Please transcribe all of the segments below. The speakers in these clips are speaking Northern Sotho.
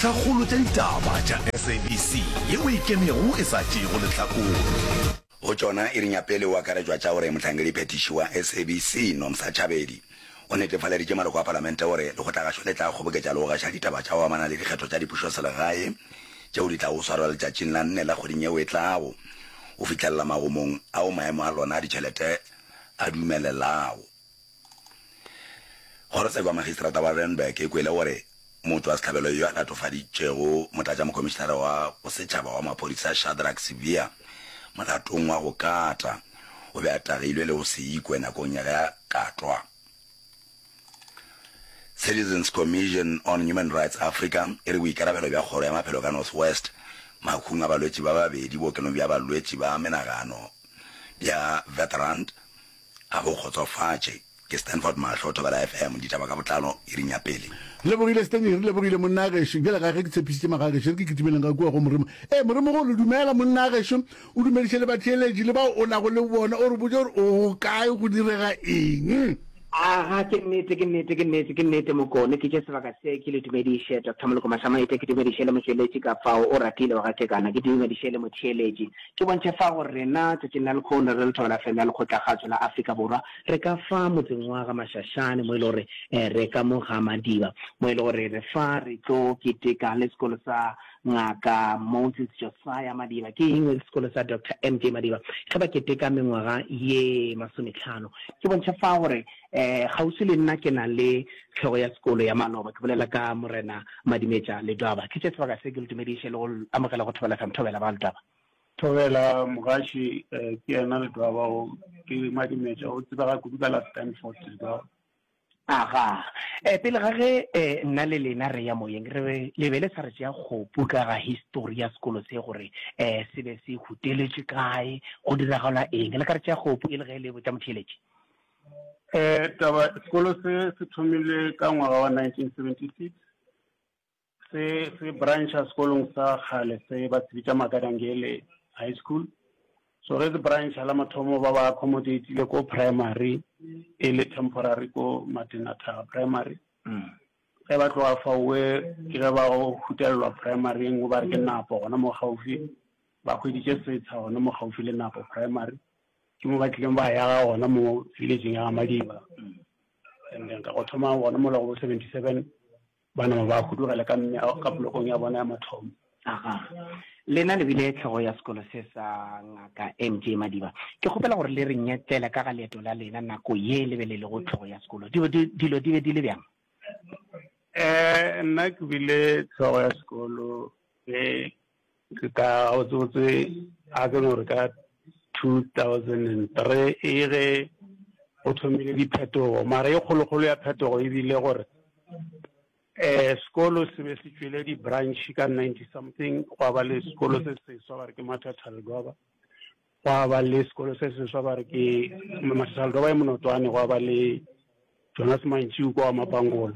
Tlhakgolo tša ditaba tša SABC yeo e ikemego e sa tšeego lehlakore. Go tšona, iring ya pele o akaretšwa tša gore Mohlankediphethiši wa SABC, Nomsa Chabedi, o netefaleditše maloko a Palamente gore Lekgotlagašo le tla kgoboketša le go gaša ditaba tša go amana le dikgetho tša dipušoselegae tšeo di tlago swarwa letšatšing la nne la kgweding yeo e tlago go fihlelela magomong ao maemo a lona a ditšhelete a dumelelago. Kgorotsheko ya Magistrata wa Randburg e kwele gore motšwasehlabelo yo a latofaditšego Motlatšamokhomišenare wa Bosetšhaba wa Maphodisa Shadrack Sibiya molatong wa go kata o be a tagilwe le go se ikwe nakong ya ge a katwa. Citizens Commission on Human Rights Africa e re boikarabelo bja Kgoro ya Maphelo ka North West mahung a balwetši ba babedi bookelong bja balwetši ba menagano bja Veterant Ga bo kgotsofatše. Ke Stanford Mahlo, Thobela FM, ditaba ka botlalo iring ya pele. Re lebogile Stanley, re lebogile monna gešo. Bjale ga ge ke tshepišitše magagešo, re ke kitimeleng ga kua go Morimo. Ee, Morimogolo, dumela monna gešo, o dumediše le batheeletši le bao o nago le bona, o re botše gore o go kae, go direga eng. Aga, ke nnete, ke nnete, ke nnete, ke nnete, Mokone. Ke tše sebaka se ke le dumediše, Doctor Moloko Mashamaite, ke dumediše le motšweletši ka fao, o ratile wa ga Kekana, ke dumediše le motheeletši. Ke bontšhe fa gore rena tšatšing la lekhono re le Thobela FM ya Lekgotlakgatšo la Afrika Borwa re ka fa motseng wa ga Mashashane mo e le gore re ka mo ga Madiba mo e le gore re fa re tlo keteka le sekolo sa Ngaka Moses Josiah Madiba ke eng le sekolo sa Doctor MJ Madiba ge ba keteka mengwaga ye masometlhano. Ke bontšhe fa gore kgauswi le nna ke na le hlogo ya sekolo ya maloba ke bolela ka Morena Madimetša Ledwaba. Ke tše sebaka se ke le dumediše le go amogela go Thobela FM. Thobela ba Ledwaba. Thobela Mogaši, ke yena Ledwaba o, ke Madimetša, o tsebega kudu ka la Stanford Ledwaba. Aga, pele ga ge nna le lena re ya moyeng, re be, le be le sa re tšea kgopu ka ga histori ya sekolo se gore se be se huteletšwe kae, go diragala eng. Le ka re tšea kgopu e le ge le botša motheeletši? Taba, sekolo se se thomile ka ngwaga wa 1976. Se se brancha sekolong sa kgale se ba se bitša Makadangele High School. So ge se brancha la mathomo ba ba accommodatile ko primary e le temporary ko Matenathaga Primary. Ge ba tloga faowe ke ge ba go hutelelwa primary e nngwe ba re ke Napo gona mo gaufi, ba hweditše setsha gona mo gaufi le Napo Primary. Ke mo ba tlileng ba yaga gona mo villageng ya ga Madiba. And then ka go thoma gona mola go bo 77 Ba nama ba hudugela ka ka polokong ya bona ya mathomo. Aga. Lena le bile hlogo ya sekolo se sa Ngaka MJ Madiba. Ke kgopela gore le re nyetlele ka ga leeto la lena nako ye le be le lego hlogo ya sekolo. Dilo di, dilo di be di le bjang? Eh, nna ke bile hlogo ya sekolo ge Ke ka gabotsebotse a ke no re ka 2003 e ge go thomile diphetogo, mara e kgolokgolo ya phetogo e bile gore um sekolo se be se tšwele di-branch ka 90 something, gwa ba le sekolo se seswa ba re ke Mathatha Ledwaba, gwa ba le sekolo se seswa ba re ke Mathatha Ledwaba e Monotwane, gwa ba le Jonas Mantšiu kwa Mapangola.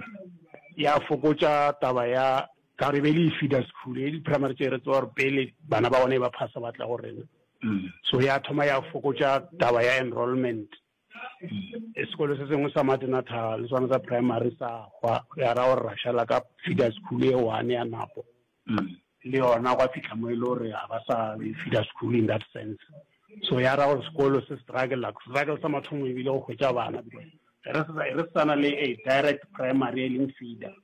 Ya fokotša taba ya ka gore e be e le e-feeder school, e di-primary tše re tseba gore pele bana ba gona e ba phasa ba tla go rena. So ya thoma ya fokotša taba ya enrollment. Sekolo se sengwe sa Matenatha le sona sa primary sa hwa, ya ra gore ra šala ka feeder school e one ya Napo. Le yona gwa fihla mo e le gore ga ba sa feeder school in that sense. So ya ra gore sekolo se struggle, struggle sa mathomo e bile go hwetša bana because re se sa na le a direct primary e leng feeder.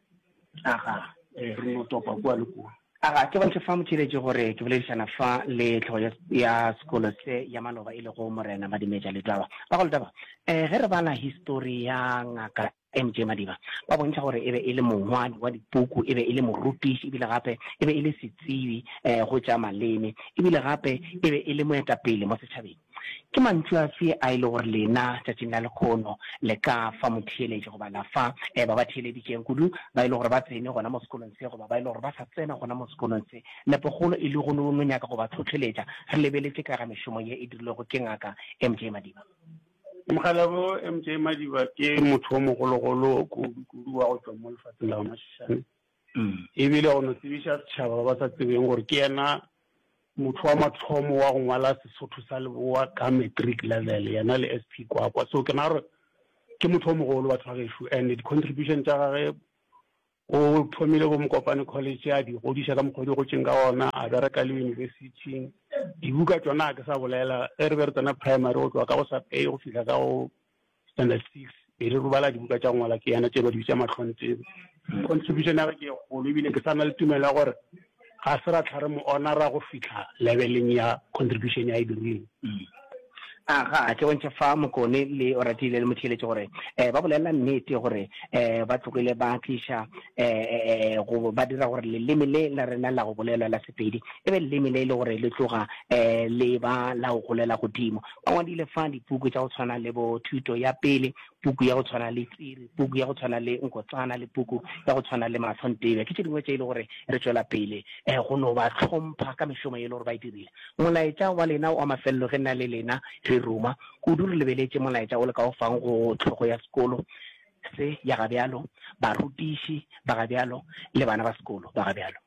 Aga. Ee, re no topa kua le kua. Aga, ke bontšhe fa motheeletši gore ke boledišana fa le hlogo ya, ya sekolo se ya maloba e lego Morena Madimetša Letwaba. Bago Letwaba, eh, ge re bala histori ya Ngaka MJ Madiba, ba bontšha gore e be e le mongwadi wa dipuku, e be e le morutiši, ebile gape e be e le setsebi eh, go tša maleme, ebile gape e be e le moetapele mo setšhabeng. Ke mantšu afe a e le gore lena tšatšing la lekhono le ka fa motheeletši goba la fa ba ba theeleditšeng, kudu ba e le gore ba tsene gona mo sekolong se goba ba e le gore ba sa tsena gona mo sekolong se, nepokgolo e le go no no nyaka go ba hlohleletša re lebeletše ka ga mešomo ye e dirilwego ke Ngaka MJ Madiba? Mokgalabo MJ Madiba ke motho o mogologolo kudu-kudu wa go tšwa mo lefatsheng la ga Mashishane. Ebile go no tsebiša setšhaba ba ba sa tsebeng gore ke yena motho wa mathomo wa go ngwala Sesotho sa Leboa ka matric level, yena le SP Kwakwa. So ke nagana gore ke motho o mogolo batho ba gešo, and di-contribution tša gage. O thomile bo Mokopane College a di godiša ka mokgwa o di gotšeng ka gona, a bereka le yunibesithing. Dibuka tšona ga ke sa bolela, ge re be re tsena primary go tloga ka go sub A go fihla ka go standard six, be re bala dibuka tša go ngwala ke yena tše ba di bitša mahlongtsebe. Contribution ya gagwe ke e kgolo ebile ke sa na le tumelo ya gore ga se ra hlwa re mo honora go fihla leveleng ya contribution ya e dirileng. Aga, ke bontšha fa Mokone le Oratile le Motheeletši gore um ba bolela nnete gore um ba tlogile ba tliša um go ba dira gore leleme le la rena la go bolelwa la Sepedi e be leleme le e le gore le tloga um le ba la go golela godimo. Ba ngwadile fa dipuku tša go tshwana le bo Thuto ya Pele, puku ya go tshwana le Tsiri, puku ya go tshwana le Nkotsana le puku ya go tshwana le Mahlo Ntebe. Ke tše dingwe tše e le gore re tšwela pele um go no ba hlompha ka mešomo ye e le gore ba e dirile. Molaetša wa lena wa mafelelo ge nna le lena re ruma, kudu re lebeletše molaetša o le ka o fang go hlogo ya sekolo se ya gabjalo, barutiši ba gabjalo le bana ba sekolo ba gabjalo.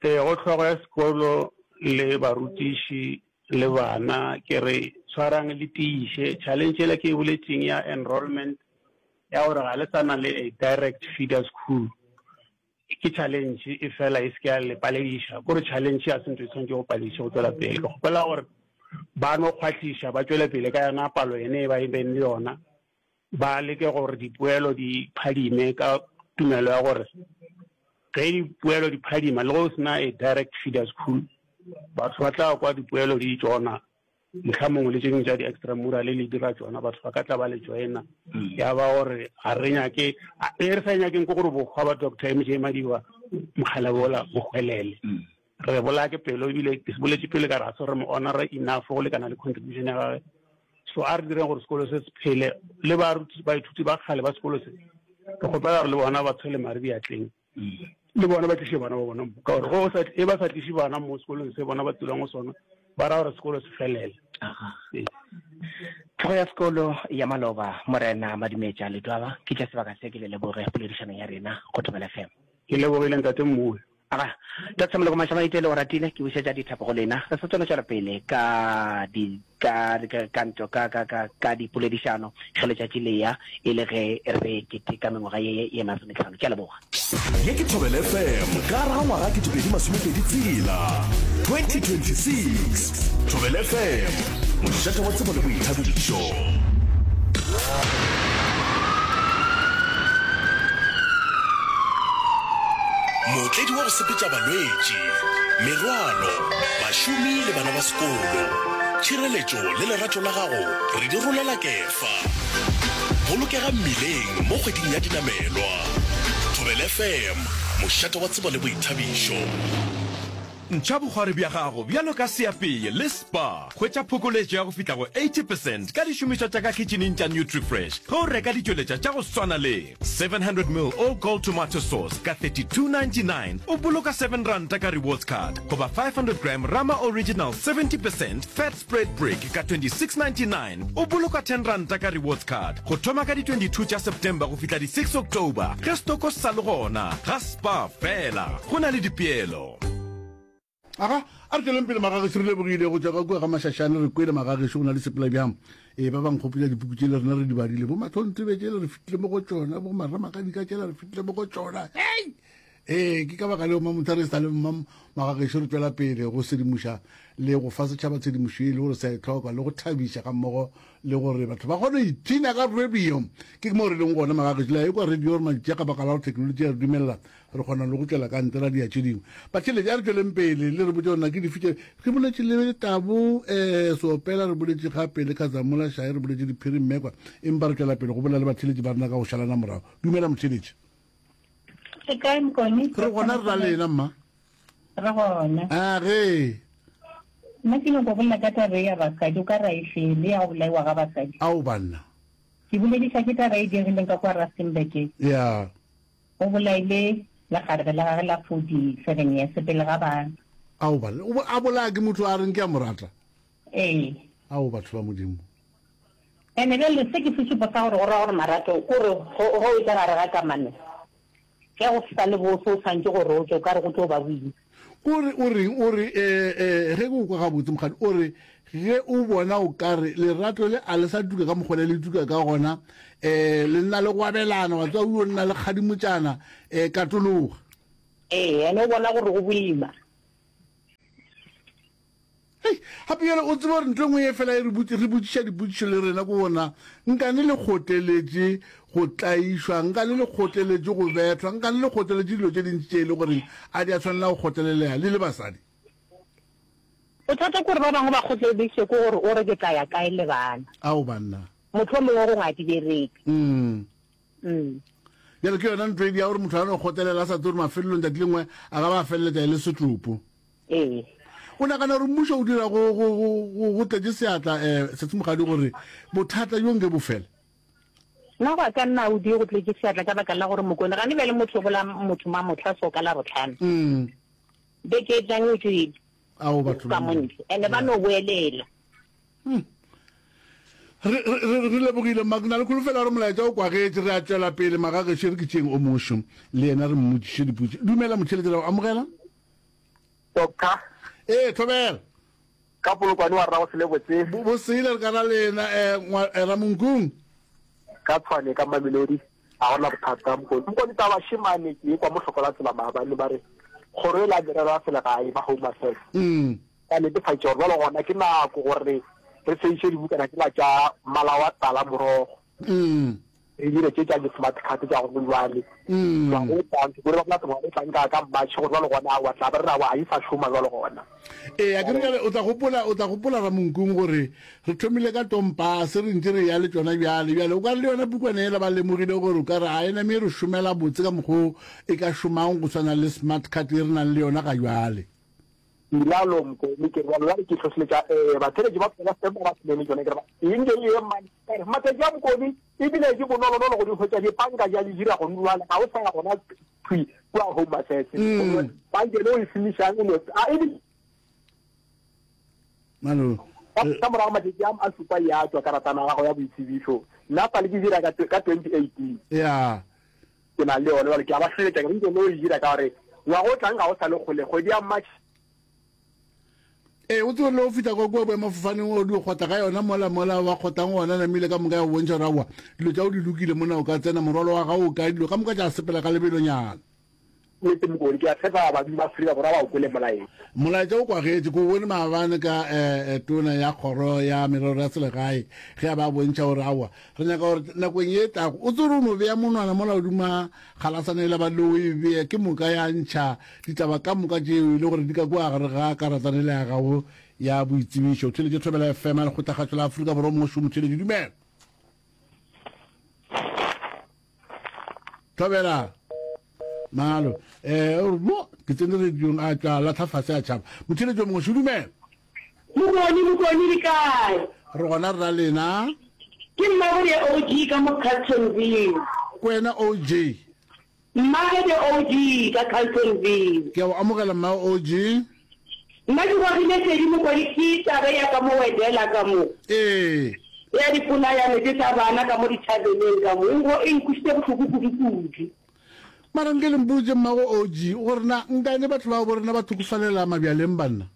Ee, go hlogo ya sekolo le barutiši le bana ke re tshwarang le tiiše. Challenge yela ke e boletšeng ya enrollment ya gore ga le sa na le a direct feeder school ke challenge e fela e se ke ya le palediša. Kore challenge ga se ntho e tshwanetše go palediša go tšwela pele. Ke kgopela gore ba no kgwahliša ba tšwele pele ka yona palo yene e ba e beng le yona. Ba leke gore dipoelo di phadime ka tumelo ya gore ge dipoelo di phadima le ge o se na a direct feeder school batho ba tla kwa dipoelo di tšona mohla mongwe le tše dingwe tša di-extramural le dira tšona batho ba ka tla ba le joina mm. ya ba gore ga re nyake e re sa nyakeng ke gore bokgwa ba doctor mj madiba mokgalebola bo hwelele mm. Re bolaya ke pelo ebile ke se boletše pele ka re ga se re mo honora enough go lekana le contribution ya gagwe. So a re direng gore sekolo se se phele le baruti baithuti ba kgale ba sekolo se re kgopela gore le bona ba tshwele mare diatleng le bona ba tliše bana ba bona mo ka gore go sa e ba sa tliše bana mo sekolong se bona ba tulang go sona ba ra gore sekolo se felele. Tlhogo ya sekolo ya maloba Morena Madumetša Ledwaba ke tša sebaka se ke le leboge poledišanong ya rena go Thobela FM. Ke lebogile Ntate Mmuwe. Aga, Doctor Moloko Mashamaite le o ratile, ke bušetša dithapo go lena. Re sa tswela tšwela pele ka di ka ka ka nto ka ka ka ka dipoledišano ge letšatši le ya e le ge re keteka mengwaga ye ye masometlhano. Ke a leboga. Ye ke Thobela FM ka gare ga ngwaga 2026, 2026. Thobela FM, mošate wa tsebo le boithabišo. Mootledi wa go sepetša balwetši, merwalo, bašomi le bana ba sekolo. Tšhireletšo le lerato la gago re di rolela kefa. Bolokega mmileng mo kgweding ya dinamelwa. Thobela FM, mošate wa tsebo le boithabišo. Ntšha bokgwari bja gago bjalo ka seapei le Spar. Hwetša phokoletšo ya go fihla go 80 percent ka dišomišwa tša ka khitšhining tša Nutrifresh ge o reka ditšweletša tša go swana le 700 ml All Gold Tomato Sauce ka 32.99 o boloka seven ranta ka rewards card goba 500 gram Rama Original 70 percent Fat Spread Brick ka 26.99 o boloka ten ranta ka rewards card go thoma ka di 22 tša September go fihla di 6 October ge stoko se sa le gona ga Spar fela go na le dipeelo. Aga, a re tšweleng pele magagešo, re lebogile go tšwa ka kua ga Mašašane, re kwele magagešo go na le sepela bjang. Ee, ba ba nkgopotša dipuku tšele rena re di badile, bo Mahlontsebe tšele re fetile mo go tšona, bo Maramakadika tšela re fetile mo go tšona. Hei! Ee, ke ka baka leo Mamotha re sa le magagešo re tšwela pele go sedimoša le go fa setšhaba tshedimošo e le gore sa e tlhoka le go thabiša ga mmogo le gore batho ba kgone go ipshina ka radio. Ke mo re leng gona magagešo, le a ekwa radio gore mantši ka baka la gore technology ya re dumelela Re kgona le go tšwela ka ntle ra dia tše dingwe. Batheeletši, a re tšweleng pele le re botše gore na ke dife tše. Re boletše le Tabo um Seopela, re boletše gape le Khazamola Shae, re boletše le Phiri Mmekwa, empa re tšwela pele go bolela le batheeletši ba rena ka go šalana morago. Dumela motheeletši. Re kae Mokone? Re gona re ra lena mma. Re gona. A ge. Nna ke nyako bolela ka taba e ya basadi, o ka re a e fele ya go bolaiwa ga basadi. Ao banna. Ke bolediša ke taba e diregileng ka kwa Rustenburg. Ya. O bolaile lekgarebe la gagwe la 47 years pele ga bana. Ao banna, o a bolaya ke motho a reng ke a mo rata? Ee. Ao batho ba Modimo. Ene bjale se ke sešupo sa gore go ra gore marato kore go o etša gare ga kamano. Ge go sa le bose o swantše gore o tšwe, o ka re go tlo ba boima. Ko re o reng? O re, eh, eh, ge ke go kwa gabotse, mokgadi, o re ge o bona o ka re lerato le a le sa tuka ka mokgwa le le tuka ka gona, eh, le nna le go abelana, wa tseba o yo nna le kgadimotšana, eh, katologa. Ee, ene o bona gore go boima. Hei, gape bjale o tseba gore ntho e nngwe ye fela e re botši, re botšiša dipotšišo le rena ke gona, nkane le kgotleletše go tlaišwa, nkane le kgotleletše go bethwa, nkane le kgotleletše dilo tše dintši tše e le goreng a di a swanela go kgotlelelega le le basadi? Bothata ke gore ba bangwe ba kgotleleditšwe ke gore o re ke tla ya kae le bana. Ao banna. Mohlomongwe gongwe a di bereke. Mm. Mm. Bjale ke yona ntho e dia gore motho a no kgotlelela a sa tsebe gore mafelelong tšatši lengwe a ka ba a feleletša e le setopo. Ee. O nagana gore mmušo o dira go, go, go, go, go tletše seatla um Setsemogadi gore bothata bjo nke bo fele? Nna go ya ka nna o die go tletše seatla ka baka la gore Mokone gane bjale motho o bolaya motho mamohla so ka Labohlano. Mm. Beke e tlang o tšwele. Ao batho ba ba mo ntle. Ene ba no boelela. Hmm. Re, re, re, re lebogile mma, ke na le kholofelo ya gore molaetša o kwagetše. Re a tšwela pele magagešo, re ke tšeeng o mošo le yena re mmotšiše dipotšišo. Dumela motheeletši, ra go amogela. Doctor. Ee, thobela. Ka Polokwane wa rra go sele botse. Bo, bo sele re ka ra lena, eh, ngwa, eh, Ramonkung. Ka Tshwane, ka Mamelodi, ga gona bothata. Mokone, Mokone taba šemane ke ekwa mohlokola tsela maabane ba re kgoro e la merero ya selegae ba Home Affairs. Mm. Ba netefatša gore bjalo gona ke nako gore re fediše dibukana tšela tša mmala wa tala morogo. Mm. Re dire tše tša di-smart card tša gone jwale. Mm. Ngwaga o tlang, ke kwele ba bolela ngwaga o tlang ka ka March gore jwale gona aowa tla be re re aowa ga e sa šoma jwale gona. Ee, a ke re bjale o tla gopola, o tla gopola Ramonkung gore re thomile ka tompase re ntše re ya le tšona bjale. Bjale o ka re le yona pukwana yela ba lemogile gore o ka re ga e name e re šomela botse ka mokgo e ka šomang go swana le smart card e re nang le yona ga jwale. Bilalo Mokone, ke re bjalo bjale ke hlohleletša um batheeletši ba Thobela FM ba Semene tšona ke re ba eng ke eng mane ka re matšatši a Mokone ebile ke bonolonolo go di hwetša dipanka di a di dira gone jwale ga o sa ya gona thwi kua Home Affairs Mm. panka e o e šomišang e no a ebile Malo. ka ka morago matšatši a a šupa ya tšwa karatana ya gago ya boitsebišo nna sa le ke dira ka ka 2018 Ya. Ke na le yona bjale, ke a ba hlohleletša ke re nke lo e dira ka gore ngwaga o tlang ga o sa le kgole, kgwedi ya March. Ee, o tsebe le go fihla kwa kua boemafofaneng o di kgotla ka yona mola mola wa kgotlang gona namile ka moka ya go bontšha gore aowa dilo tša go di lokile mona o ka tsena morwalo wa gago o kae dilo ka moka tša sepela ka lebelonyana. Nnete Mokone, ke a tshepa badudi ba Afrika Borwa ba o kwele molaetša. Molaetša o kwagetše, ke o bone maabane ka eh, tona ya kgoro ya merero ya selegae ge a ba bontšha gore aowa re nyaka gore nakong ye e tlago o tsere o no bea monwana mola godima galasana ela ba le o e bee ke moka ya ntšha ditaba ka moka tšeo e le gore di ka kua gare ga karatana ele ya gago ya boitsebišo. Theletše Thobela FM ya Lekgotlakgašo la Afrika Borwa Mosho Motheletši dumela. Thobela. Malo. Eh, o re, mo, ke tsene radiong a tšwa latlha fase a tšhaba. Motheletši o mongwe, šo dumela. Mokoni, Mokoni le kae? Re gona rra lena. Ke Mmabode OG ka mo Carltonville. Kwena OG. Mmabode OG ka Carltonville. Ke a go amogela mma OG. Nna ke gogile šedi Mokoni ke taba ya ka mo Wedela ka mo. Ee. Ya dipolayano tše tša bana ka mo dithabeneng ka mo. E nkwešitše bohloko kudu kudu. Mara nke le mpotše mmago OG gore na nkane batho bao bo rena ba thokofalela mabjaleng banna?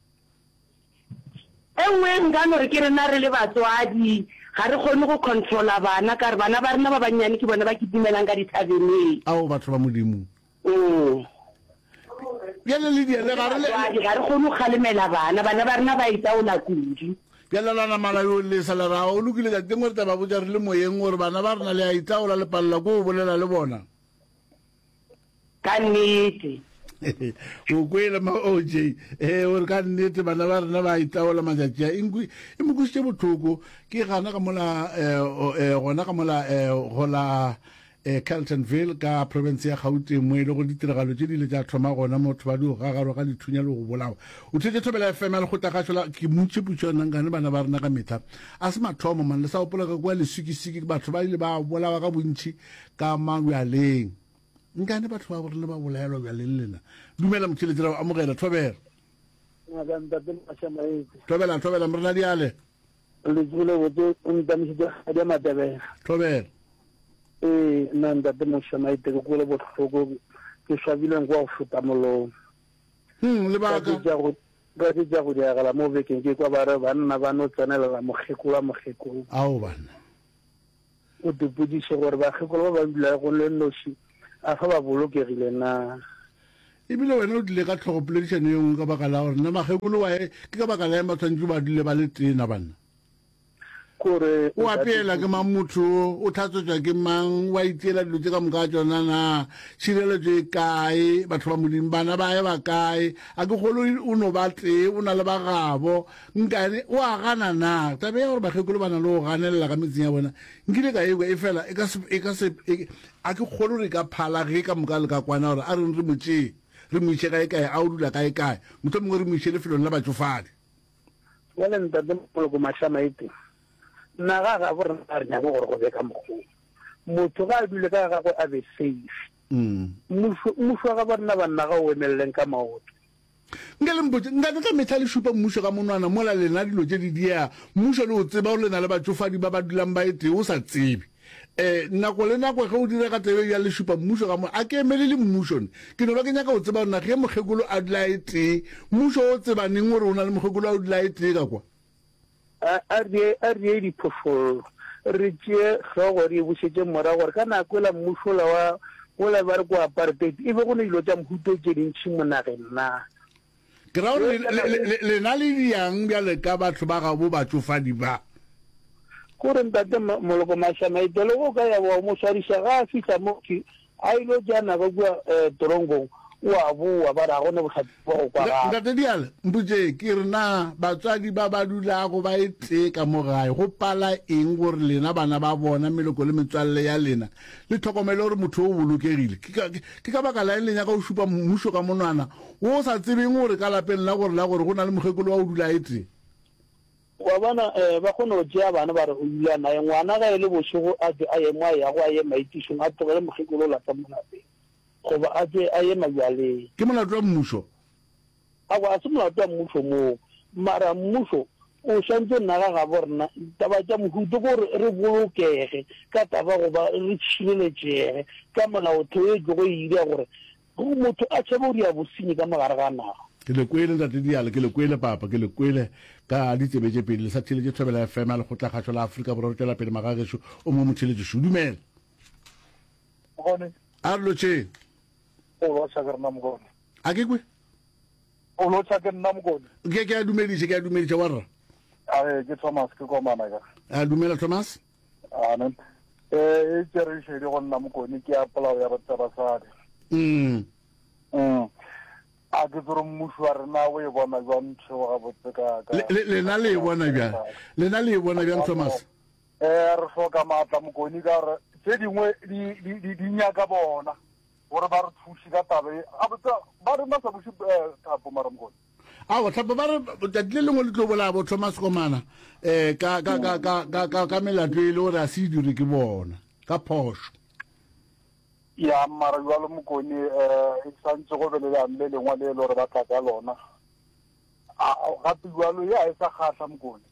E nngwe nka no re ke rena re le batswadi ga re kgone go controla bana ka re bana ba rena ba bannyane ke bona ba kitimelang ka dithabeneng. Ao batho ba Modimo. Mm. Bjale le diele ga re le. Batswadi ga re kgone go kgalemela bana, bana ba rena ba itaola kudu. Bjale la nama la yo lesa la ra o lokile tšatši lengwe re tla ba botša re le moyeng gore bana ba rena le a itaola le palela ko go bolela le bona. Ka nnete. O kwele ma OJ ee o re ka nnete bana ba rena ba itaola matšatši a e mo kwešitše bohloko ke gana ka mola eh, eh, gona ka mola eh, go la eh, Carltonville ka province ya Gauteng mo e le go ditiragalo tše di ile tša thoma gona motho ba di go gagarwa ka dithunya le go bolawa o thetše thobela FM ya lekgotlakgašo la ke mutše putšo yona nkane bana ba rena ka mehla a se mathomo man le sa gopola ka kua lesikisiki batho ba ile ba bolawa ka bontši ka mabjaleng. Nkane batho ba rena ba bolaelwa bjaleng lena. Dumela motheletši ra go amogela thobela. Ngaka ntate Mashamaetse. Thobela thobela morena diale. Le tsebile botse o ntamišitše kgadi ya Matebela. Thobela. Ee nna ntate Mashamaetse ke kwele bohloko. Ke swabile nko wa go feta molomo. Hmm, lebaka? Ka tše ka tše tša go diagala mo bekeng ke kwa ba re banna ba no tsenelela mokgekolo wa mokgekolo. Ao banna. O dipotšiše gore bakgekolo ba ba dulago le noši a fa ba bolokegile na. Ebile wena o tlile ka tlhogo poledišano ye nngwe ka baka la gore na makgekolo wa e ke ka baka la eng ba tshwanetše ba dule ba le tee na banna? Kore O apeela ke mang motho o, o tlhatswetšwa ke mang, wa itseela dilo tše ka moka ga tšona na? Tšhireletšo e kae? Batho ba Modimo, bana ba ye ba kae? A ke kgolo o no ba tee, o na le ba gabo. Nkane o a gana na? Taba ya gore bakgekolo ba na le go ganelela ka metseng ya bona, nkile ka ekwa, efela e ka se, e ka se, e, a ke kgolo re ka phala ge ka moka le ka kwana gore a reng re mo tšee, re mo iše kae-kae, a o dula kae-kae, mohlomongwe re mo iše lefelong la batšofadi. Bjale Ntate Moloko Mašamaite, nna ga gabo rena ga re nyake gore go be ka mokgwa wo. Motho ga a dule ka ga gagwe a be safe. Mmušo, mmušo wa gabo rena banna ga o emeleleng ka maoto. Nke le mpotše, nka ka mehla le šupa mmušo ka monwana mola lena dilo tše di diega? Mmušo le o tseba gore le na le batšofadi ba ba dulang ba e tee o sa tsebe. E, nako le nako ge o direga taba e bjalo le šupa mmušo ka mo, a ke emelele mmušo ne. Ke no ba ke nyaka go tseba gore na ge mokgekolo a dula e tee, mmušo o tseba neng gore o na le mokgekolo a o dula e tee ka kwa? A, a re, a re ye diphošollo, re tšee hlogo re e bušetše morago gore ka nako yela mmušo wola wa, wola ba re ke wa apartheid, e be go ne dilo tša mohuta o tše dintši mo nageng na? Ke ra gore lena le diang bjale ka batho ba gabo batšofadi ba? Kore ntate Moloko Mashamaite le go ka ya wa mo swariša ga a fihla mo ke a ilo tšea nako kua eh, toronkong o a boa ba re ga gone bohlatse bwa go kwagala. Ntate Diale, mpotše ke re na batswadi ba ba dulago ba e tee ka mo gae go pala eng gore lena bana ba bona, meloko le metswalle ya lena le hlokomele gore motho o bolokegile? Ke ka, ke ka baka la eng le nyaka go šupa mmušo ka monwana wo o sa tsebeng gore ka lapeng la gore la gore go na le mokgekolo wa go dula e tee? Wa bona, eh, ba kgona go tšea bana ba re o dula naye. Ngwana ge e le bošego a tšwe a ye mo a yago, a ye maitišong, a tlogele mokgekolo o lapa mo lapeng, goba a tšwe a ye mabjaleng. Ke molato wa mmušo. Aowa, ga se molato wa mmušo moo. Mara mmušo o swantše nna ga gabo rena taba tša mohuto ke gore re bolokege ka taba goba re tšhireletšege ka molaotheo e tlogo e ira gore motho a tšhabe go dira bosenyi ka mogare ga naga. Ke le kwele Ntate Diale, ke le kwele Papa, ke le kwele ka ditsebe tše pedi. Le sa theeletše Thobela FM ya Lekgotlakgašo la Afrika Borwa. Re tšwela pele magagešo o mongwe motheeletši šo. Dumela. Mokgone. A re lotšheng. O lotšha ke rena Mokgone. A ke kwe? O lotšha ke nna Mokone. Ke ke a dumediša, ke a dumediša wa rra. A ke Thomas ke komana ka. A dumela Thomas. Amen. Eh e tšere šedi go nna Mokone ke ya polao ya batho basadi. Mm. Mm. A ke tsore mmušo wa rena o e bona jwang ntho ga botse ka ka. Lena le e bona bjang? Lena le e bona bjang Thomas? Eh re hloka maatla Mokone ka gore tše dingwe di di di nyaka bona. Gore ba re thuše ka taba ye. Gabotse ba reng ba sa buše Thapo mara Mokone? Aowa, Thapo ba re tšatši le lengwe le tlo bolaya bo Thomas Komana um ka, ka, ka, ka, ka, ka, ka melato e le gore a se e dire ke bona, ka phošo. Ya, mara jwalo Mokone um e santse go be le leano le lengwe le e le gore ba tla ka lona. A, gape jwalo ye a e sa kgahla Mokone.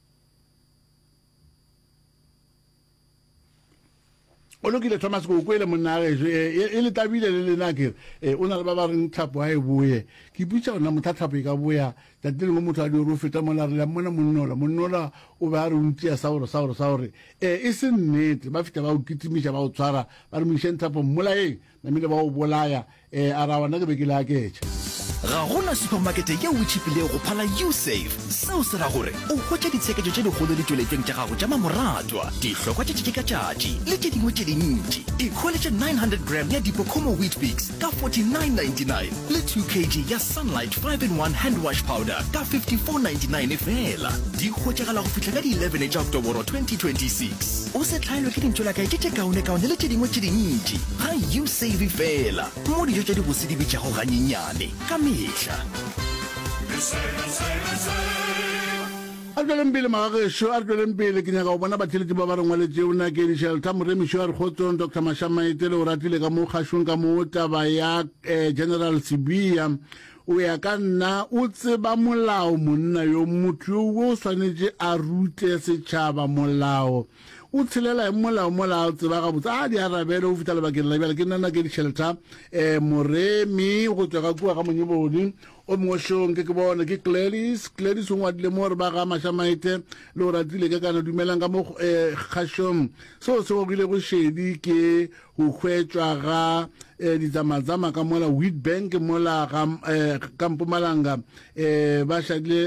O lokile Thomas ke o kwele monna gešo e, e, e le tabile le lena ke re o na le ba ba reng thapo a e boye ke ipotša gona motha thapo e ka boya tšatši lengwe motho a di gore o feta mola re le mmona monnola monnola o be a re o ntia sa gore sa gore sa gore e e se nnete ba fihla ba o kitimiša ba o tshwara ba re mo išeng thapo mmolayeng Namile ba o bolaya. Ee, a ra gona ke be ke le aketša. Ga go na supamakete yeo e tšhipilego go phala Usave. Seo se ra gore o hwetša ditsheketšo tše dikgolo ditšweletšweng tša gago tša mamoratwa, dihlokwa tša tšatši ka tšatši le tše dingwe tše dintši. Ikhweletše 900 gram ya Dipocomo Weet-Bix ka 49.99 le 2 kg ya Sunlight 5 in 1 Hand Wash Powder ka 54.99 feela. Di hwetšagala go fihla ka di 11 tša Oktoboro 2026. O se hlaelwe ke dintšolakae tše tše kaonekaone le tše dingwe tše dintši ga Usave feela, mo dijo tša dibose di bitšago ganyenyane ka mehla. A re tšweleng pele magagešo, a re tšweleng pele. Ke nyaka go bona batheeletši ba ba re ngwaletšego. Nakedi Shelter Moremišo a re kgotsong Doctor Mashamaite le o ratile ka mo kgašong ka mo taba ya eh, General Sibiya. O ya ka nna o tseba molao monna yo motho yo o swanetše a rute setšhaba molao. O tshelela eng molao mola a o tseba gabotse? A di arabele go fihla lebakeng la bjale. Ke nna Nakedi Shelter um Moremi go tšwa ka kua ga Monyebodi. O mongwe šo nke ke bone ke Gladys. Gladys o ngwadile mo gore ba ga Mašamaite le o ratile ka kana dumelang ka mo um kgašong. Seo se gogilego šedi ke go hwetšwa ga um ditsamatsama ka mola Witbank mola ga um ka Mpumalanga um ba šadile.